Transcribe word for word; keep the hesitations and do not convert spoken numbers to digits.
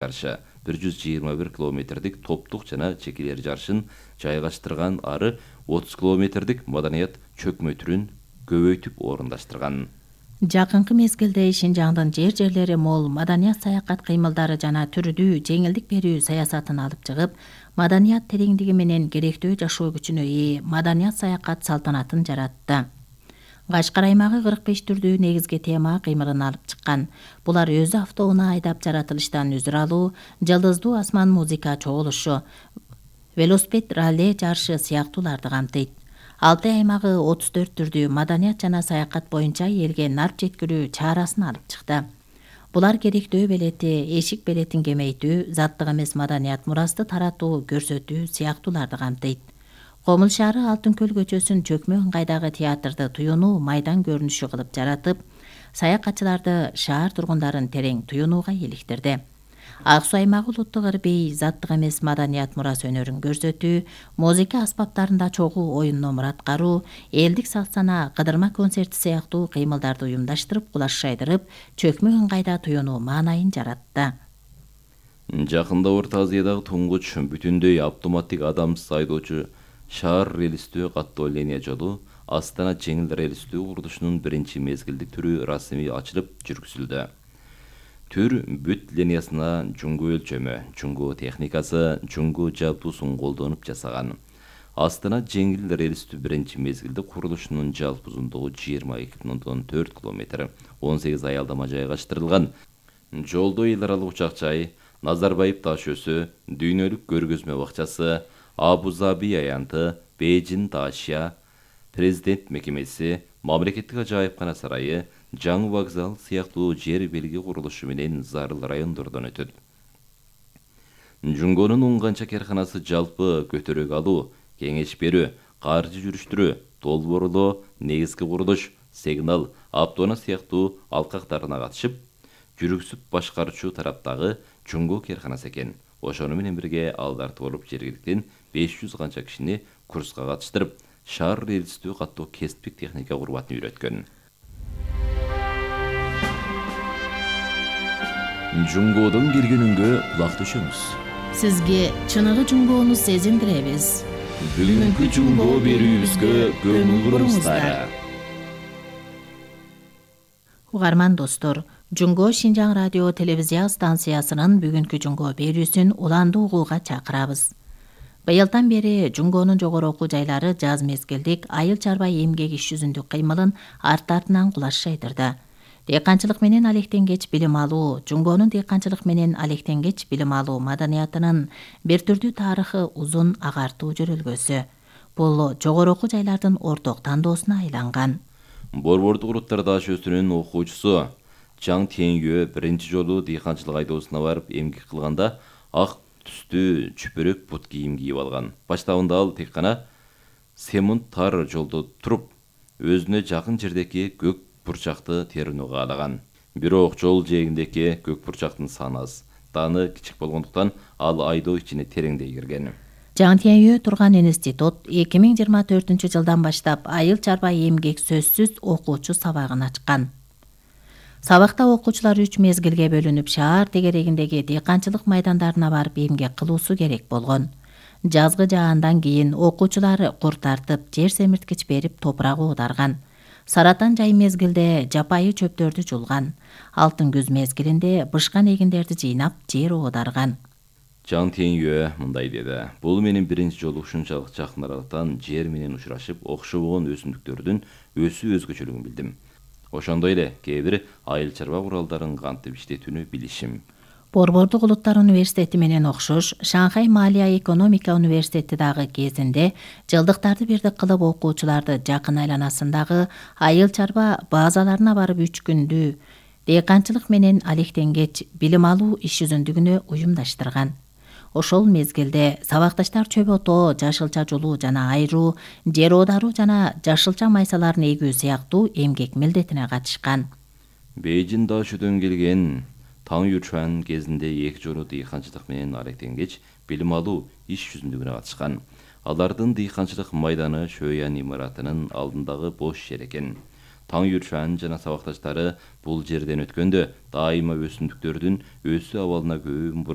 жарышы бир жүз жыйырма бир километрдик топтук жана чекелер жарышын жайгаштырган ары отуз километрдик маданият чөкмө түрүн көбөйтүп орундаштырган. Жакынкы мезгилде Шинжаңдын жер жерлери мол маданият саякат кыймылдары жана түрдүү жеңилдик берүү саясатын алып чыгып, маданият тереңдиги менен керектүү жашоо күчүнө ээ маданият саякат салтанатын жаратты. Кашкар аймагы кырк беш түрдүү негизги тема кыймылын алып чыккан. Булар өзү автоунаа айдап жаратылыштан үзүр алуу, жылдыздуу асман музыка чогулушу, велосипед ралли жарышы сыяктууларды камтыйт. Алты аймагы отуз төрт түрдүү маданият жана саякат боюнча элге нарп жеткирүү чарасын алып чыкты. Булар керектөө белети, эшик белетин кеңейтүү, заттык эмес маданият мурасты таратуу, көрсөтүү сыяктууларды камтыйт. Комул шаары Алтын көл көчөсүн чөкмө ыңгайдагы театрды туюнуу майдан көрүнүшү кылып жаратып, саякатчыларды, шаар тургундарын терең туюнууга иликтирди. Ак Суу аймагы улуттук ырбей, заттык эмес маданият мурас өнөрүн көрсөтүү, музыка аспаптарында чогуу оюн номур аткаруу, элдик салт-санаа, кыдырма концерти сыяктуу кыймылдарды уюмдаштырып, кулаш жайдырып, чөкмө ыңгайда туюнуу маанайын жаратты. Жакында Орто Азиядагы туңгуч бүтүндөй автоматтик адамсыз айдоочу шаар релистүү каттоо линия жолу Астана жеңил релистүү курулушунун биринчи мезгилдик түрү расмий ачылып жүргүзүлдү. Түр бүт линиясына жуңгу өлчөмү, жуңгу техникасы, жуңгу жалпуусун колдонуп жасаган. Астана жеңил релистүү биринчи мезгилдик курулушунун жалпы узундугу жыйырма эки бүтүн ондон төрт километр, он сегиз аялдама жайгаштырылган. Жолдо эл аралык учак жай, Назарбаев таш өсү, дүйнөлүк көргөзмө бакчасы, Абу-Заби аянты, Бейжин Дашия, Президент мекемеси, мамлекеттик ажайыпкана сарайы, жаңы вокзал сыяктуу жер белги курулушу менен зарыл райондордон өтөт. Жуңгонун он канча карканасы жалпы көтөрөк алуу, кеңеш берүү, каржы жүрүштүрүү, долбоорлоо, негизги курулуш, сигнал, автоунаа сыяктуу алкактарына катышып, жүргүзүп башкаруучу тараптагы жуңгу карканасы экен. Ошону менен бирге алдарты болуп жергиликтен беш жүз канча кишини курска катыштырып, шаар релистүү каттоо кесиптик техника курбатын үйрөткөн. Жуңгоодон келгенүнгө кулак төшөңүз. Сизге чыныгы жуңгоону сезиндиребиз. Бүгүнкү жуңгоо берүүбүзгө көңүл буруңуздар. Угарман достор, Жуңго Шинжаң радио телевизия станциясынын бүгүнкү жуңго берүүсүн уланды угууга чакырабыз. Быйылдан бери жуңгонун жогору окуу жайлары жаз мезгилдик айыл чарба эмгек иш жүзүндүк кыймылын арт-артынан кулаш жайдырды. Дыйканчылык менен алектенгеч билим алуу, жуңгонун дыйканчылык менен алектенгеч билим алуу маданиятынын бир түрдүү тарыхы узун агартуу жөрөлгөсү. Бул жогору окуу жайлардын орток тандоосуна айланган. Борбордук Уруттар таш өсүнүн окуучусу Чаң Теңгөө биринчи жолу дыйканчылык айдоосуна барып эмгек кылганда ак түстүү чүпүрөк бут кийим кийип алган. Баштабында ал тек гана семонт тар жолдо туруп, өзүнө жакын жердеки көк бурчакты терүүнү каалаган. Бирок жол жээгиндеки көк бурчактын саны аз, даны кичик болгондуктан ал айдоо ичине тереңдей кирген. Чаң Теңгөө турган институт эки миң жыйырма төртүнчү жылдан баштап айыл чарба эмгек сөзсүз окуучу сабагын ачкан. Сабакта окуучулар үч мезгилге бөлүнүп шаар тегерегиндеги дыйканчылык майдандарына барып эмгек кылуусу керек болгон. Жазгы жаандан кийин окуучулар кур тартып, жер семирткич берип топурак оодарган. Саратан жай мезгилде жапайы чөптөрдү жулган. Алтын күз мезгилинде бышкан эгиндерди жыйнап, жер оодарган. Чаң Теңгөө мындай деди: "Бул менин биринчи жолу ушунчалык жакын аралыктан жер менен учурашып, окшобогон өсүмдүктөрдүн өсүү өзгөчөлүгүн билдим. Ошондой эле кээ бир айыл чарба куралдарын кантип иштетүүнү билишим." Борбордук Улуттар университети менен окшош Шанхай Малия экономика университети дагы кезинде жылдыктарды бирдик кылып окуучуларды жакын айланасындагы айыл чарба базаларына барып үч күндүү дыйканчылык менен алектенгеч билим алуу иш жүзүндүгүнө уюмдаштырган. Ошол мезгилде сабакташтар чөп отоо, жашылча жулуу жана айруу, жер оодаруу жана жашылча майсаларын эгүү сыяктуу эмгек милдетине катышкан. Бейжин Дашүүдөн келген Таң Ючуан кезинде эки жолу дыйканчылык менен алектенгеч билим алуу иш жүзүндүгүнө катышкан. Алардын дыйканчылык майданы Шөян имаратынын алдындагы бош жер экен. Таңюршан жана сабакташтары бул жерден өткөндө дайыма өсүмдүктөрдүн өсүү абалына көңүл буруп